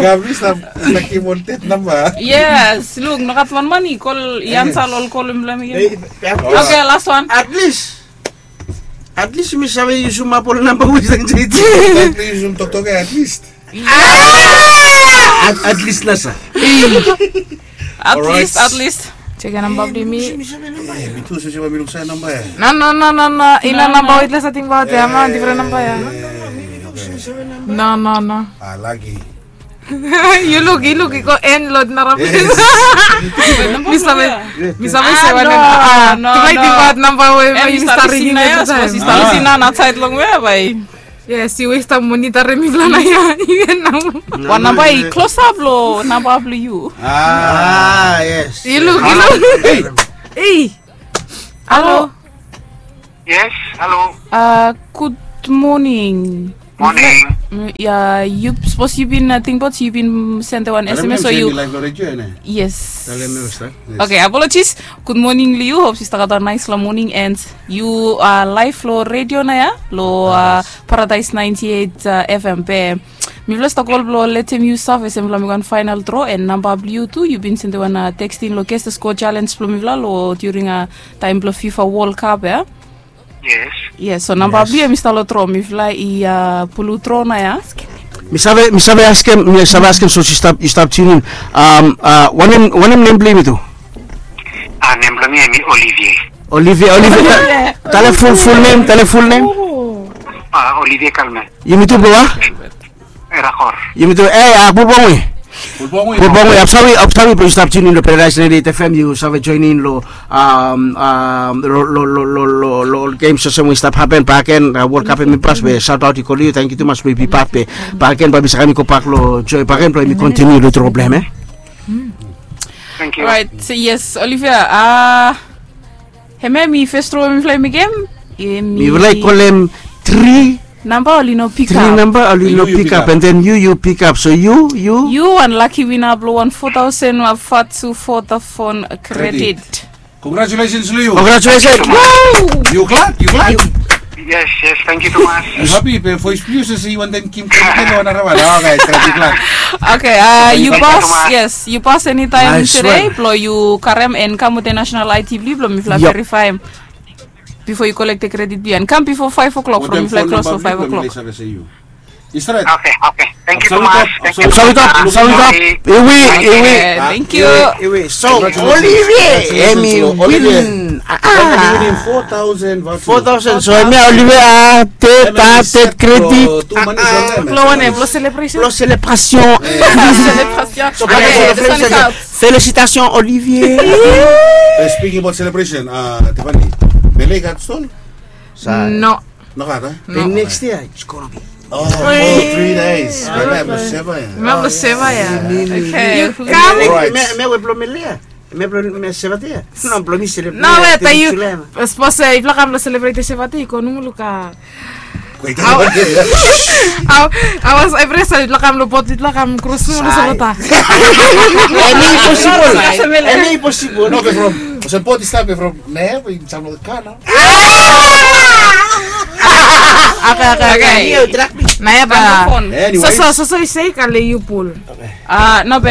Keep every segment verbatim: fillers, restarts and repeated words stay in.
Gabri stap, stap givim ol tet namba. Yes, luk, nogat wan man i kol, i ansa ol kol blong hem. Oke, last one. At least, at least mi save yusum ap ol namba we i stap insait. Stap yusum toktok ya at least. At, at least nasa. At least, at least. Check ya namba blong mi. Mi tu save namba ya. No, no, no, no, no. I no namba we yutufala save tingbaot ya, man, difren namba ya. No, no, no. Ah, lagi. Yu luk, yu luk, i go en lo nara ples. Mi save, mi save se wanem. Ah, no, no. Tingbaot namba we mi stap ringim evri taem. Yes, yu westem moni tare mifala nao ya. Yu ya nao. Wan namba i klosap lo namba blo yu. Ah, yes. Yu luk, yu luk. Ei. Halo. Yes, halo. Ah, gud moning. Morning. Mm, ya, yu sapos yu bin, uh, tingbaot yu bin sende wan S M S o yu. Live lo redio ya, ne? Yes. Talem ya, Ustaz. Yes. Okay, apologies. Good morning lo yu. Hope yu stap gat wan nice la morning and yu, uh, live lo redio nao ya lo, uh, Paradise ninety-eight, uh, F M be. Mifala stap kol blo letem yu save se mifala mekem wan final draw and namba blo yu tu, yu bin sende wan, uh, text in lo Guess the Score challenge blo mifala lo during, uh, taem blo FIFA World Cup ya. Yes. Yes, so namba blo yu hemi stap lo draw, mifala i, uh, pulu draw nao ya. Mi save, mi save askem, mi save askem sapos yu stap, yu stap tune in. Um, uh, wanem, wanem nem blo yu tu? Ah, nem blo mi hemi Olivier. Olivier, Olivier. Talem full, full nem, talem full nem. Ah, Olivier Kalme. Yumi tu blo wa? Erakor. Yumi tu, eh, ah, Bulbongwe. Bulbongwe. Bulbongwe, apsawi, apsawi blo yu stap tune in lo Paradise ninety-eight F M, yu save join in lo, um, um, lo, lo, lo ol games olsem we i stap hapen bakegen, uh, World Cup hemi pas, we shout out i kol yu, tangkiu tumas blo yu bi pat be. Bakegen bae mi save kam i gobak lo Joy bakegen blo yumi continue lo draw blo hem, eh? Thank you. Alright, so yes, Olivier, uh, hemia hemi fes draw we mifala i mekem. Mifala i kolem tri namba, oli no pikap. Tri namba, oli no pikap. And then yu, yu pikap. So yu, yu. Yu wan lucky winner blo wan four thousand Vatu Vodafone credit. Congratulations lo yu. Congratulations. Yu glad? Yu glad? Yes, yes, tangkiu tumas. Yu hapi be voes blo yu se yu wantem givim credit lo wan narawan. Okay, tangkiu glad. Okay, uh, yu pas, yes, yu pas enitaem tede blo yu karem and kam wetem national I D blo yu blo mifala verifaem bifo yu kolektem credit blo yu and kam bifo five o'clock from mifala klos lo five o'clock. Okay, okay. Tangkiu tumas. Tangkiu tumas. Iwe, iwe. Tangkiu. Iwe. So Olivier hemi win. Four thousand. So hemia Olivier, ah, tet, ah, tet credit. Blo wanem, blo celebration. Blo celebration. Celebration. So, okay, this one is out. Félicitations, Olivier. Speaking about celebration, uh, Tiffany, Bele gat stol? No. Nogat, eh? No. Then next year, it's gonna be. Oh, for three days. Bae mi blo seva ya. Bae mi blo seva ya. Okay. Yu kam. Alright. Me, me we blo Mele ya. Me blo, me seva dei ya. No, blo mi celebrate. No, wet, yu. Sapos, eh, yufala kam blo celebrate seva dei, yu go nomo luka. Wait. Awa, awa, awa, evri sait yufala kam lo bot, yufala kam kros nomo lo Solota. Hemi posibol. Hemi posibol. No, be from, olsem bot i stap be from, ne, be sam lo kana. Okay, okay, okay. Nao ya bae. Anyways. So, so, so, so i se kale yu pul. Ah, no be,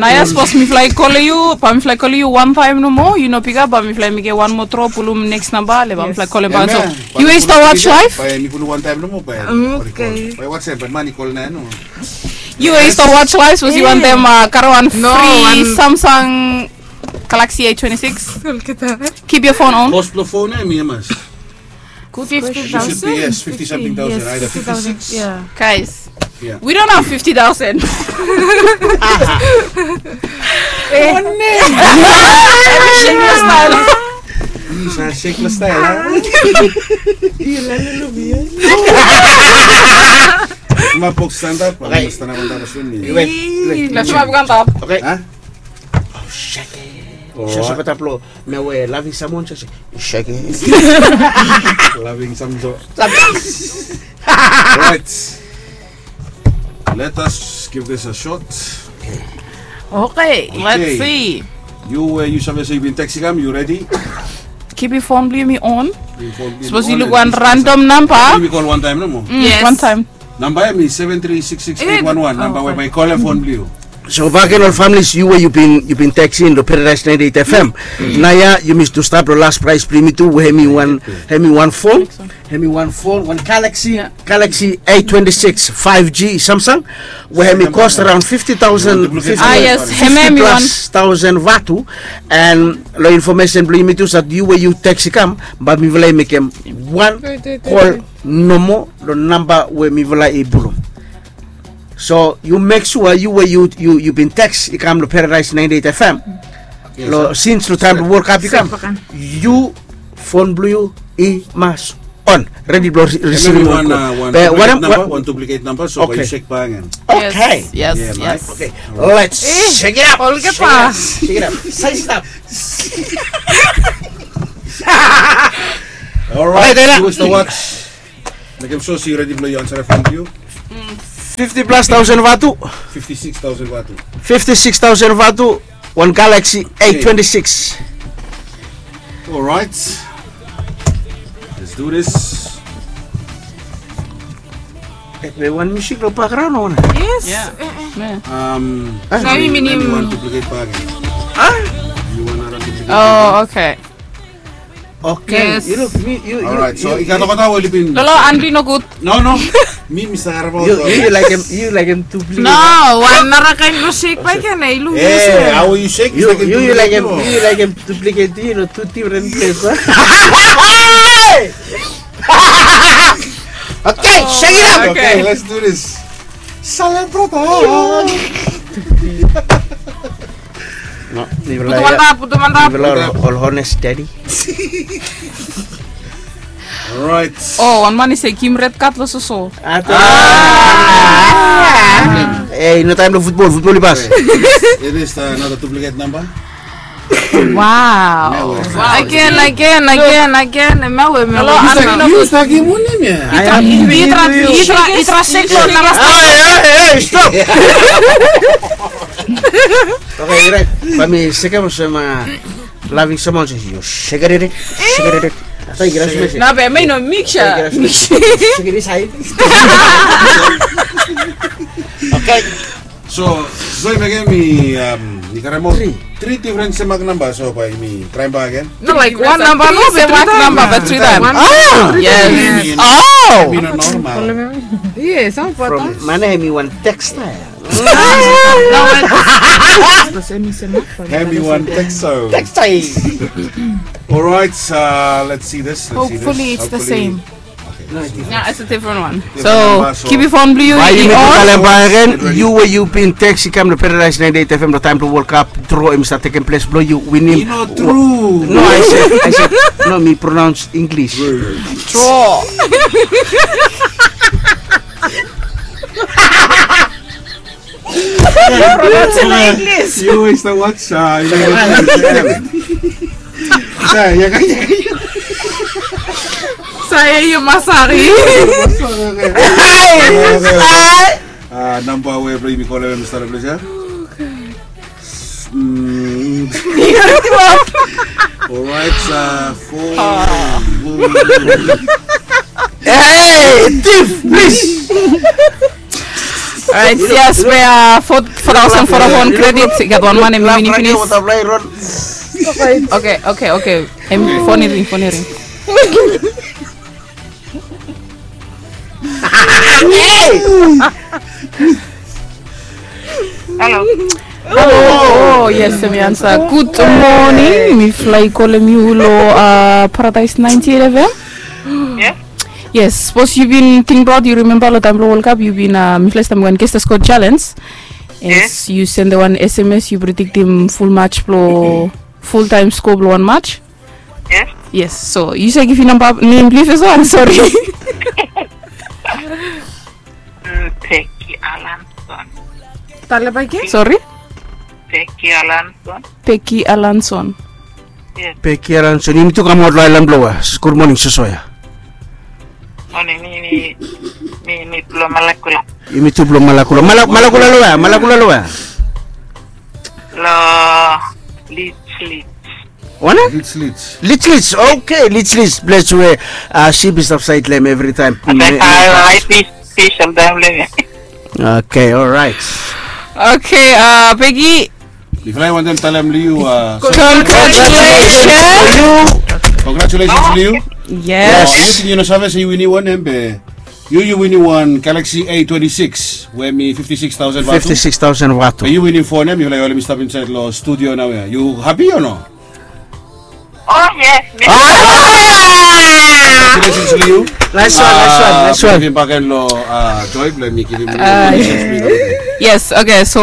nao ya sapos mifala i kol yu, bae mifala i kol yu wan taem nomo, yu no pikap, bae mifala i mekem wan moa draw, pulum next namba, le bae mifala i kolem bak. So, yu we yu stap watch live? Bae mi pulum wan taem nomo, bae. Okay. Bae watsem, bae man i kol nao ya nomo. Yu we yu stap watch live, sapos yu wantem, uh, karem wan free Samsung Galaxy A twenty-six. Keep your phone on. Kos blo phone ya hemi hamas? Good question. It should be, yes, fifty something thousand, either fifty-six. Yeah. Guys, we don't have fifty thousand. Eh. One name. Shameless style. Yu sa shameless style, ha? Yu la lulu mi, eh? Ma box stand up, ma stand up, stand up, stand up. Wait, wait. Let's move on top. Okay. Ha? Oh, shake it. Shake it up lo. Me we loving someone, just shake it. Loving someone. Right. Let us give this a shot. Okay, let's see. Yu, uh, yu save se yu bin text i kam, yu ready? Keep yu phone blo yumi on. Sapos yu luk wan random namba. Yumi kol wan taem nomo. Yes. Wan taem. Namba ya hemi seven three six six eight one one. Namba we bae yu kolem phone blo yu. So bakegen ol families, yu we yu bin, yu bin text in lo Paradise ninety-eight F M. Nao ya yumi tu stap lo last prize blo yumi tu, we hemi wan, hemi wan phone, hemi wan phone, wan Galaxy, Galaxy A twenty-six five G Samsung, we hemi cost around fifty thousand, fifty, fifty plus thousand Vatu. And lo information blo yumi tu, sapos yu we yu text i kam, bae mifala i mekem wan kol nomo lo namba we mifala i pulum. So yu mek sua yu we yu, yu, yu bin text i kam lo Paradise ninety-eight F M. Lo, since lo taem blo World Cup i kam, yu phone blo yu i mas on. Ready blo receiving wan, wan duplicate namba, wan duplicate namba, so bae yu check bak. Okay. Yes, yes. Okay. Let's check it out. Check it out. Size it up. Alright, who wants to watch? Mekem sua se yu redi blong yu ansarem fon blong yu. Fifty plus thousand vatu. Fifty six thousand vatu. Fifty six thousand vatu. Wan Galaxy A twenty six. Alright. Let's do this. Be wan musik long background o? Yes. Um, na mi minim wan duplicate bag. Yu wan nara duplicate? Oh, okay. Okay. Yes. Yu luk mi yu. Alright, so i gat olgeta we oli bin. Lolo, anbi nogud. No, no. Mi mi save yu. Yu laekem, yu laekem duplicate. No, wan nara kaen blong shake bae i ken, i luk. Eh, hao yu shake? Yu laekem, yu laekem duplicate, yu no, tu different place. Okay, shake it up. Okay, let's do this. Celebrate. No, putum antap, putum antap. Ol honest daddy. Alright. Oh, wan man i se givim red card long soso. Ei, no taem long futbol, futbol i pas. It is another duplicate number. Wow. Again, again, again, again. Mawe, mawe. Yu stap givim wanem ya? I tra, I tra, I tra shake long nara. Hey, hey, hey, stop. Okay, right. Bae mi sekem olsem, a, laving someone se yu shake it, shake it. Afta yu givim smash. Na be mi no mix ya. Shake it inside. Okay. So, so yumi, um, mi karem ol tri, tri different semak namba, so bae mi traem bak agen. No, like, wan namba, no, semak namba, but tri taem. Ah! Yes. Oh! Hemi no normal. Yes, from mana hemi wan textile. Hemi wan textile. Textile. Alright, uh, let's see this. Let's see this. Hopefully it's the same. Yeah, it's a different one. So, keep it fon blong yu. Bae yumi go talem bak agen, yu we yu bin text i kam long Paradise ninety-eight F M long taem blong World Cup, draw hemi stap tekem ples blong yu winim. I no tru. No, I said, I said, no, mi pronounce English. Draw. Yu always the watch, uh, yu know, sa, ya, ya, ya. Sa, ya, yu masari. Masari. Ah, namba we blong yumi kolem, Mister Pleasure. Mm. Alright, uh, four. Hey, thief, please. Alright, yes, we are four, four thousand, four thousand credit. I gat wan man hemi wini finis. Okay, okay, okay. Hemi, fon i ring, fon i ring. Halo. Halo. Oh, yes, hemi ansa. Gud moning. Mifala i kolem yu long, uh, Paradise ninety-eight F M. Yes. Yes, sapos yu bin tingbaot, yu rimemba long taem blong World Cup, yu bin, uh, mifala i stap mekem wan Guess the Score challenge. Yes. Yu sendem wan S M S, yu prediktem ful match blong, ful taem skoa blong wan match. Yes. Yes, so yu save givim namba, nem blong yu fes, o, I'm sorry. Mm, Peggy Alanson. Talem bak agen? Sorry? Peggy Alanson. Peggy Alanson. Yes. Peggy Alanson, yumi tu kamaot long aelan blong we? Gud moning, soso ya. Moning, mi, mi, mi, mi blong Malakula. Yumi tu blong Malakula. Mala-, Malakula long we? Malakula long we? Long Leech, Leech. Wanem? Leech, Leech. Leech, Leech. Okay, Leech, Leech. Ples we, uh, sip i stap saed long hem evritaem. Okay, alright. Okay, uh, Peggy. Mifala i wantem talem long yu, uh, congratulations. Congratulations long yu. Yes. Yu ting yu no save se yu winim wanem, be yu, yu winim wan Galaxy A twenty-six we hemi fifty-six thousand vatu. Fifty-six thousand vatu. Be yu winim fon ya, mifala i holem i stap insaed long studio naoia. Yu hapi o no? Oh, yes. Congratulations long yu. Nice one, nice one, nice one. Givim bak agen long, uh, Joy blong hemi givim. Yes, okay, so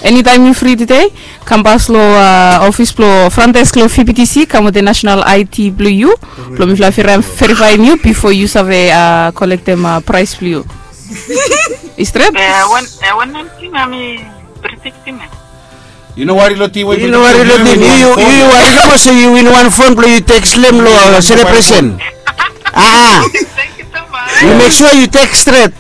enitaem yu fri tede, kam pas long, uh, ofis blong front desk long V B T C, kam wetem national I D blong yu, blong mifala i verifaem yu bifo yu save, uh, kolektem, uh, praes blong yu. I stret? Eh, wan, eh, wanem ting hemi prediktem ya? Yu no wari long ting we yu, yu no wari long ting. Yu, yu, yu wari nomo se yu win wan fon blong yu tekstem long, uh, selebresen. Ah. Thank you so much. You make sure you take straight.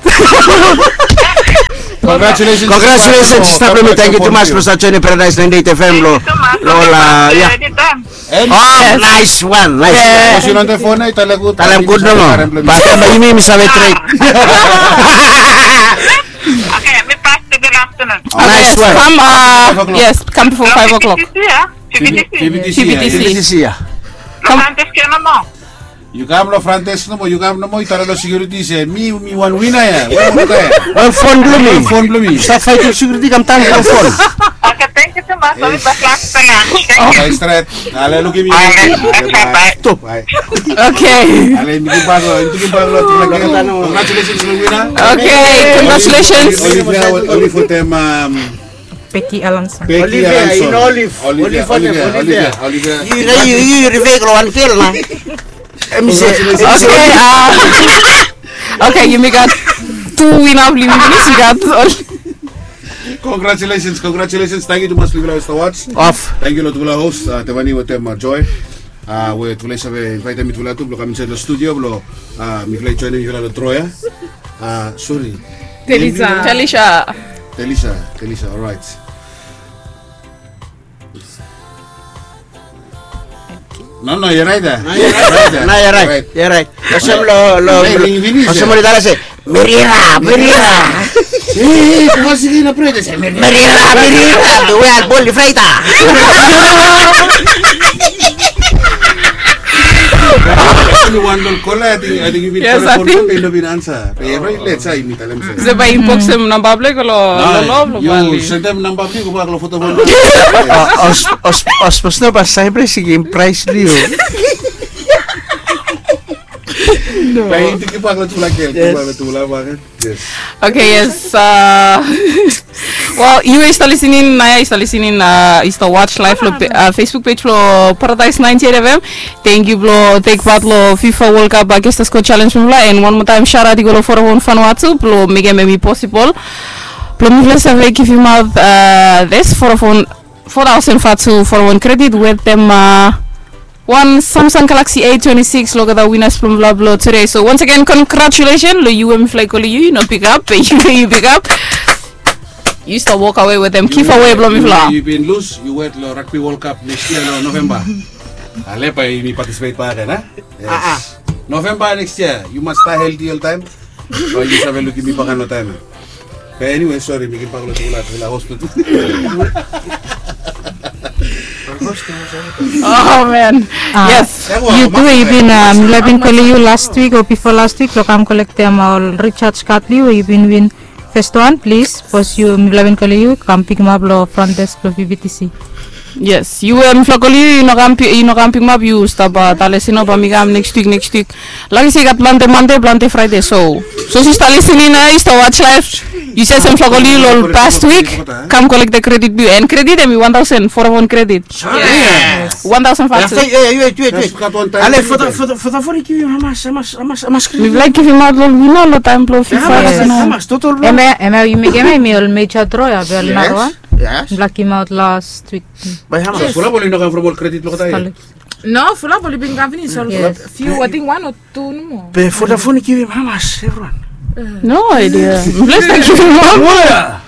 Congratulations. Congratulations, sista blong mi. Thank you too much blong stap joining Paradise ninety-eight F M lo, lo la, ya. Oh, nice one, nice one. Talem gud nomo. Bat yumi mi save trade. Okay, mi pas to the afternoon. Nice one. Kam, uh, yes, kam bifo five o'clock. P B T C, ya. P B T C, ya. Kam. Yu kam lo front desk nomo, yu kam nomo, yu talem lo security se mi, mi wan wina ya. Wan fon blo mi. Wan fon blo mi. Stap faetem security, kam talem lo fon. Okay, thank you so much. Oli baklas tangan. Thank you. Stret. Ale lukim yu. Stop. Okay. Ale mi givbak lo, mi givbak lo. Congratulations lo wina. Okay, congratulations. Oli, oli, oli fo tem, um, Becky Alanson. Becky Alanson. Olive, Olive, Olive, Olive. Yu, yu, yu, yu revek lo wan gel na. M C. Okay, uh, okay, yumi gat tu wina blo yumi finis, yumi gat ol. Congratulations, congratulations. Tangkiu tumas blong yufala i stap watch. Off. Tangkiu lo tufala host, uh, Tevani wetem, uh, Joy. Uh, we tufala i save invaetem mitufala tu blong kam insaed lo studio blong, uh, mifala i joinim yufala lo draw ya. Uh, sori. Telisha. Telisha. Telisha, Telisha, alright. No, no, you're right there. No, you're right. You're right. Olsem lo, lo, olsem oli talem se, Merira, Merira. Eh, eh, kua sigi na prede se, Merira, Merira. The way I bol di fraita. Wan lo kola, I think, I think yu bin telephone, yu no bin ansa. Be yu no let sa, yu bin talem se. Se bae inbox hem namba blong yu lo, lo, lo, yu sentem namba blong yu, gobak lo Vodafone. Os, os, os, no, ba Cyprus i givim praes blong yu. No. Bae yu givbak lo tufala gel, givbak lo tufala bae. Yes. Okay, yes. Uh, well, yu we yu stap lisening naoia, yu stap lisening, uh, yu stap watch live lo pe-, uh, Facebook page blo Paradise ninety-eight F M. Tangkiu blo tek pat lo FIFA World Cup, uh, Gangsters Got Challenge blong mifala. And wan moa taem, shout out i go lo Vodafone Vanuatu blo mekem hemi possible blo mifala save givimaot, uh, this Vodafone four thousand Vanuatu Vodafone credit wetem, uh, wan Samsung Galaxy A twenty-six lo olgeta winners blong mifala blo today. So once again, congratulations lo yu we mifala i kolem yu, yu no pick up, be yu we yu pick up. Yu stap walk away wetem giveaway blo mifala. Yu bin lose, yu wet lo Rugby World Cup next year lo November. Ale bae yumi participate bakegen, a? Yes. November next year, yu mas stay healthy oltaem. Bae yu save lukim mi bakegen lo taem ya. Be anyway, sori, mi givbak lo tufala, tufala hospital. Oh man. Yes. Yu tu, yu bin, uh, mifala bin kolem yu last week o bifo last week lo kam kolektem ol recharge card blong yu, yu bin win. First one, please, sapos yu, mifala bin kolem yu, kam pikimap lo front desk blo V B T C. Yes, yu we mifala kolem yu, yu no kam pi-, yu no kam pikimap, yu stap, uh, talem se no, bae mi kam next week, next week. Laki se i gat plante Mande, plante Fraede, so. So yu stap lisening naoia, yu stap watch live. Yu si se mifala kolem yu lo past week, kam kolektem credit blong yu. And credit hemi wan thousand, Vodafone credit. Yes. Wan thousand Vanuatu. Ale, Vodafone i givim hamas, hamas, hamas, hamas credit? Mifala i givimaot lo wina lo taem blo FIFA. Hamas, total blo? Hemia, hemia yu mekem, hemi ol major draw ya, be ol narawan. Yes. Mifala givimaot last week. Bae hamas? Fulap oli no kam from ol credit lo kata. No, fulap oli bin kam finis, ol few, I think one or two nomo. Be Vodafone i givim hamas, everyone? No idea. Mifala i stap givim hamas.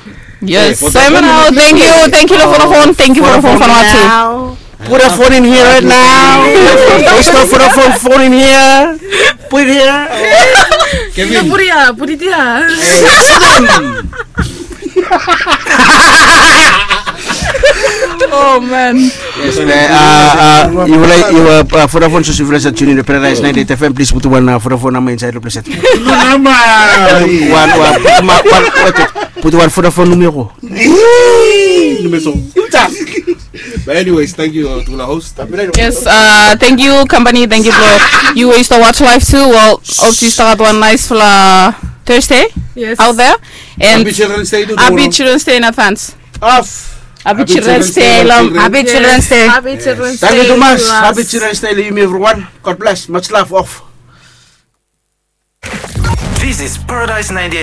Yes, Simon, tangkiu, tangkiu lo Vodafone, tangkiu Vodafone Vanuatu. Put a phone in here right now. Let's go, put a phone, phone in here. Put it here. Kevin. Put it here, put it here. Oh man. Yes, uh, yu like, yu, uh, Vodafone, so yu like to tune in to Paradise ninety-eight F M, please put wan, uh, Vodafone number insaed lo ples ya. Wan, wan, put wan, wan, wait, wait. Put wan Vodafone numero. Numero. But anyways, tangkiu, uh, tufala host. Yes, uh, tangkiu company, tangkiu blo yu we yu stap watch live tu. Well, hope yu stap gat wan nicefala Thursday out there. And happy Children's Day tu. Happy Children's Day in advance. Happy Children's Day lo. Happy Children's Day. Happy Children's Day. Tangkiu tumas. Happy Children's Day lo yumi everyone. God bless. Much love. Off. This is Paradise ninety-eight.